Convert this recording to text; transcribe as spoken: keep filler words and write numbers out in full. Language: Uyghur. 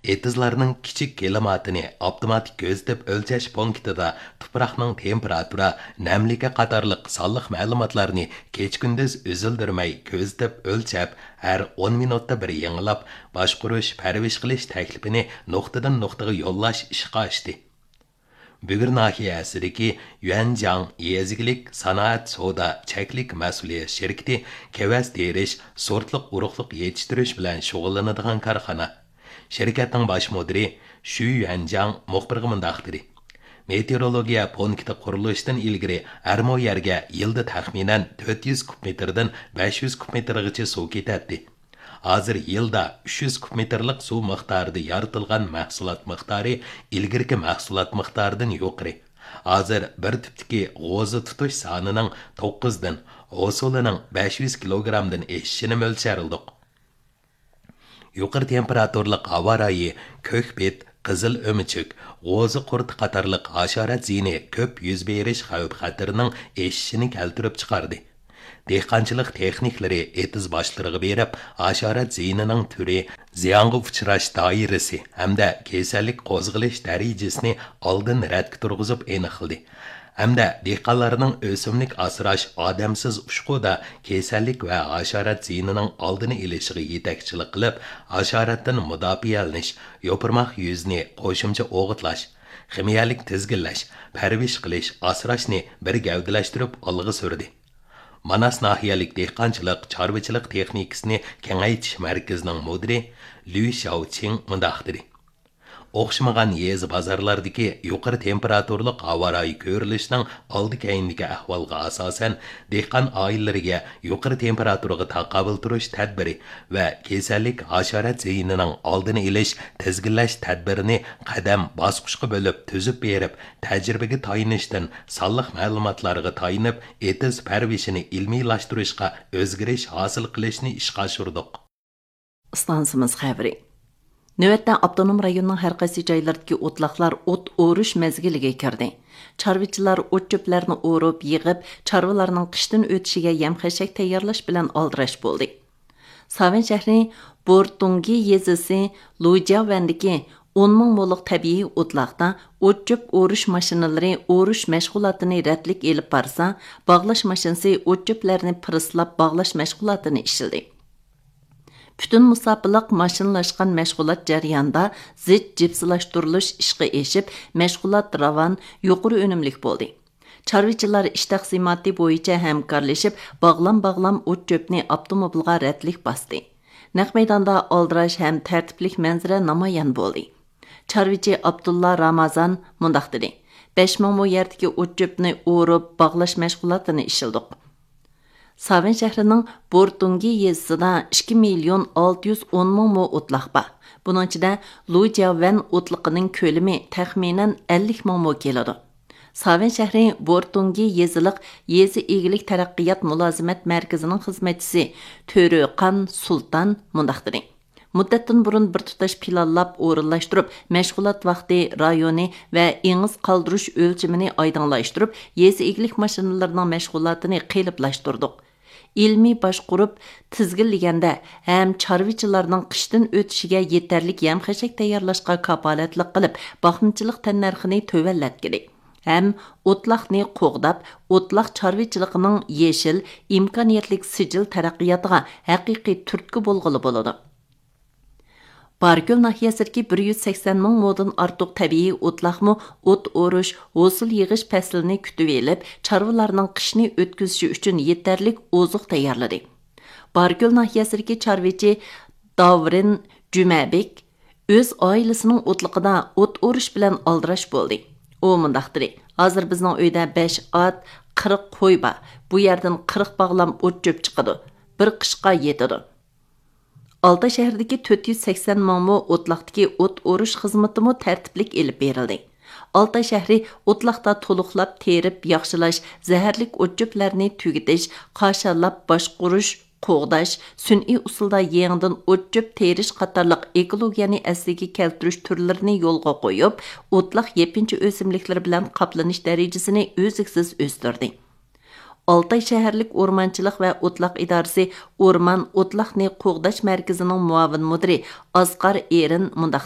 ئېتىزلارنىڭ كىچىك كىلىماتىنى ئاپتوماتىك كۆزىتىپ ئۆلچەش پونكىتىدا تۇپراقنىڭ تېمپېراتۇرا، نەملىكى قاتارلىق سانلىق مەلۇماتلارنى كېچە-كۈندۈز ئۈزۈلدۈرمەي كۆزىتىپ ئۆلچەپ، ھەر ئون مىنۇتتا بىر يېڭىلاپ، باشقۇرۇش، پەرۋىش قىلىش تەكلىپىنى نۇقتىدىن نۇقتىغا يوللاش ئىشقا ئاشتى. بۈگۈر ناھىيەسىدىكى يۈەنجياڭ يېزا ئىگىلىك سانائەت سودا چەكلىك مەسئۇلىيەت شىركىتى كېۋەز تېرىش، سورتلۇق ئۇرۇقلۇق يېتىشتۈرۈش بىلەن شۇغۇللىنىدىغان كارخانا. شىركەتنىڭ باش مۇدىرى شۈ يۈەنجياڭ مۇخبىرغا مۇنداق دېدى: مېتېئورولوگىيە پونكىتى قۇرۇلۇشتىن ئىلگىرى ھەر مو يەرگە يىلدا تەخمىنەن تۆت يۈز كۇب مېتىردىن بەش يۈز كۇب مېتىرغىچە سۇ كېتەتتى. ھازىر يىلدا ئۈچ يۈز كۇب مېتىرلىق سۇ مىقدارىدا يارىتىلغان مەھسۇلات مىقدارى ئىلگىرىكى مەھسۇلات مىقدارىدىن يۇقىرى. ھازىر بىر تۈپتىكى غوزا تۇتۇش سانىنىڭ توققۇزدىن، ھوسۇلىنىڭ بەش يۈز كىلوگرامدىن ئېشىشىنى مۆلچەرلىدۇق. يۇقىرى تېمپېراتۇرىلىق ھاۋا رايى كۆك بىت، قىزىل ئۆمۈچۈك، غوزا قۇرتى قاتارلىق ھاشارات زىيىنى كۆپ يۈز بېرىش خەۋپ-خەتىرىنىڭ ئېشىشىنى كەلتۈرۈپ چىقاردى. دېھقانچىلىق تېخنىكلىرى ئېتىز باشلىرىغا بېرىپ، ھاشارات زىيىنىنىڭ تۈرى، زىيانغا ئۇچراش دائىرىسى ھەمدە كېسەللىك قوزغىلىش دەرىجىسىنى ئالدىن رەتكە تۇرغۇزۇپ ئېنىقلىدى. ھەمدە دېھقانلارنىڭ ئۆسۈملۈك ئاسراش ئادەمسىز ئۇچقۇدا كېسەللىك ۋە ھاشارات زىيىنىنىڭ ئالدىنى ئېلىشىغا يېتەكچىلىك قىلىپ، ھاشاراتتىن مۇداپىئەلىنىش، يوپۇرماق يۈزىنى قوشۇمچە ئوغۇتلاش، خىمىيەلىك تىزگىنلەش، پەرۋىش قىلىش، ئاسراشنى بىر گەۋدىلەشتۈرۈپ ئالغا سۈردى. ماناس ناھىيەلىك دېھقانچىلىق، چارۋىچىلىق تېخنىكىسىنى كېڭەيتىش مەركىزىنىڭ مۇدىرى لۈ شياۋچىڭ مۇنداق دېدى: ئوخشىمىغان يېزا بازارلاردىكى يۇقىرى تېمپېراتۇرىلىق ھاۋا رايى كۆرۈلۈشىنىڭ ئالدى كەينىدىكى ئەھۋالغا ئاساسەن، دېھقان ئائىلىلىرىگە يۇقىرى تېمپېراتۇرىغا تاقابىل تۇرۇش تەدبىرى ۋە كېسەللىك، ھاشارات زىيىنىنىڭ ئالدىنى ئېلىش، تىزگىنلەش تەدبىرىنى قەدەم باسقۇچقا بۆلۈپ تۈزۈپ بېرىپ، تەجرىبىگە تايىنىشتىن سانلىق مەلۇماتلارغا تايىنىپ، ئېتىز پەرۋىشىنى ئىلمىيلاشتۇرۇشقا ئۆزگىرىش ھاسىل قىلىشنى ئىشقا ئاشۇردۇق. ئىستانسىمىز خەۋىرى. نۆۋەتتە ئاپتونوم رايوننىڭ ھەر قايسى جايلىرىدىكى ئوتلاقلار ئوت ئورۇش مەزگىلىگە كىردى. چارۋىچىلار ئوت چۆپلەرنى ئورۇپ، يىغىپ، چارۋىلارنىڭ قىشتىن ئۆتۈشىگە يەم خەشەك تەييارلاش بىلەن ئالدىراش بولدى. ساۋەن شەھىرى بورتۇڭگى يېزىسى لۇجياۋەندىكى ئون مىڭ مولۇق تەبىئىي ئوتلاقتا ئوت چۆپ ئورۇش ماشىنىلىرى ئورۇش مەشغۇلاتىنى رەتلىك ئېلىپ بارسا، باغلاش ماشىنىسى ئوت چۆپلەرنى پىرسلاپ باغلاش مەشغۇلاتىنى ئىشلىدى. پۈتۈن مۇساپىلىق ماشىنىلاشقان مەشغۇلات جەريانىدا زىچ جىپسىلاشتۇرۇلۇش ئىشقا ئېشىپ، مەشغۇلات راۋان، يۇقىرى ئۈنۈملۈك بولدى. چارۋىچىلار ئىش تەقسىماتى بويىچە ھەمكارلىشىپ، باغلام-باغلام ئوت چۆپنى ئاپتوموبىلغا رەتلىك باستى. نەق مەيداندا ئالدىراش ھەم تەرتىپلىك مەنزىرە نامايان بولدى. چارۋىچى ئابدۇللا رامازان مۇنداق دېدى: بەش مىڭ مو يەردىكى ئوت چۆپنى ئورۇپ باغلاش مەشغۇلاتىنى ئىشلىدۇق. ساۋەن شەھىرىنىڭ بورتۇڭگى يېزىسىدا ئىككى مىليون ئالتە يۈز ئون مىڭ مو ئوتلاق بار. بۇنىڭ ئىچىدە لۇجياۋەن ئوتلىقىنىڭ كۆلىمى تەخمىنەن ئەللىك مىڭ مو كېلىدۇ. ساۋەن شەھىرى بورتۇڭگى يېزىلىق يېزا ئىگىلىك تەرەققىيات مۇلازىمەت مەركىزىنىڭ خىزمەتچىسى تۆرۆقان سۇلتان مۇنداق دېدى: مۇددەتتىن بۇرۇن بىر تۇتاش پىلانلاپ ئورۇنلاشتۇرۇپ، مەشغۇلات ۋاقتى، رايونى ۋە ئېڭىز قالدۇرۇش ئۆلچىمىنى ئايدىڭلاشتۇرۇپ، يېزا ئىگىلىك ماشىنىلىرىنىڭ مەشغۇلاتىنى قېلىپلاشتۇردۇق. ئىلمىي باشقۇرۇپ تىزگىنلىگەندە ھەم چارۋىچىلارنىڭ قىشتىن ئۆتۈشىگە يېتەرلىك يەم-خەشەك تەييارلاشقا كاپالەتلىك قىلىپ، باقمىچىلىق تەننەرخىنى تۆۋەنلەتكىلى ھەم ئوتلاقنى قوغداپ، ئوتلاق چارۋىچىلىقىنىڭ يېشىل، ئىمكانىيەتلىك سىجىل تەرەققىياتىغا ھەقىقىي تۈرتكە بولغىلى بولىدۇ. باركۆل ناھىيەسىدىكى بىر يۈز سەكسەن مىڭ مودىن ئارتۇق تەبىئىي ئوتلاقمۇ ئوت ئورۇش، ھوسۇل يىغىش پەسلىنى كۈتۈۋېلىپ، چارۋىلارنىڭ قىشنى ئۆتكۈزۈشى ئۈچۈن يېتەرلىك ئوزۇق تەييارلىدى. باركۆل ناھىيەسىدىكى چارۋىچى داۋرىن جۈمەبېك ئۆز ئائىلىسىنىڭ ئوتلىقىدا ئوت ئورۇش بىلەن ئالدىراش بولدى. ئۇ مۇنداق دېدى: ھازىر بىزنىڭ ئۆيدە بەش ئات، قىرىق قوي بار. بۇ يەردىن قىرىق باغلام ئوت چۆپ چىقىدۇ. بىر قىشقا يېتىدۇ. ئالتاي شەھىرىدىكى تۆت يۈز سەكسەن مىڭ مو ئوتلاقتىكى ئوت ئورۇش خىزمىتىمۇ تەرتىپلىك ئېلىپ بېرىلدى. ئالتاي شەھىرى ئوتلاقتا تولۇقلاپ تېرىپ ياخشىلاش، زەھەرلىك ئوت چۆپلەرنى تۈگىتىش، قاشاللاپ باشقۇرۇش، قوغداش، سۈنئىي ئۇسۇلدا يېڭىدىن ئوت چۆپ تېرىش قاتارلىق ئېكولوگىيەنى ئەسلىگە كەلتۈرۈش تۈرلىرىنى يولغا قويۇپ، ئوتلاق يېپىنچا ئۆسۈملۈكلىرى بىلەن قاپلىنىش دەرىجىسىنى ئۈزلۈكسىز ئۆستۈردى. ئالتاي شەھەرلىك ئورمانچىلىق ۋە ئوتلاق ئىدارىسى ئورمان ئوتلاقنى قوغداش مەركىزىنىڭ مۇئاۋىن مۇدىرى ئاسقار ئېرىن مۇنداق